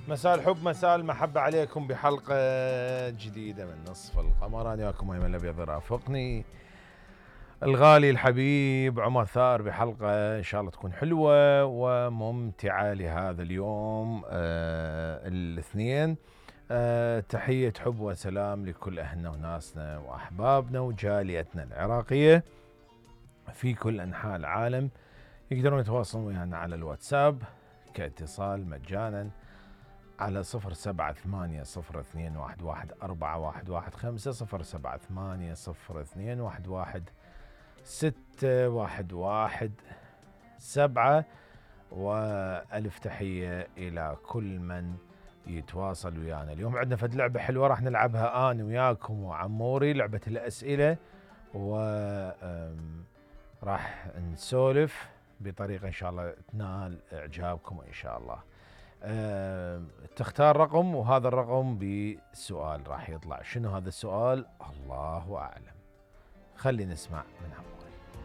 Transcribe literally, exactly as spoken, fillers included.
مساء الحب مساء المحبة عليكم بحلقة جديدة من نصف القمر. أنا وياكم أيمن الأبيض رافقني الغالي الحبيب عمر ثار بحلقة إن شاء الله تكون حلوة وممتعة لهذا اليوم آه الاثنين. آه تحية حب وسلام لكل أهلنا وناسنا وأحبابنا وجاليتنا العراقية في كل أنحاء العالم. يقدرون يتواصلون ويانا على الواتساب كاتصال مجانا على صفر سبعة ثمانية صفر اثنين واحد واحد أربعة واحد واحد خمسة صفر سبعة ثمانية صفر اثنين واحد واحد ستة واحد واحد سبعة. وألف تحية إلى كل من يتواصل ويانا. اليوم عندنا فد لعبة حلوة راح نلعبها أنا وياكم وعموري، لعبة الأسئلة، وراح نسولف بطريقة إن شاء الله تنال إعجابكم إن شاء الله. أه تختار رقم وهذا الرقم بسؤال راح يطلع. شنو هذا السؤال؟ الله أعلم. خلي نسمع من عمور.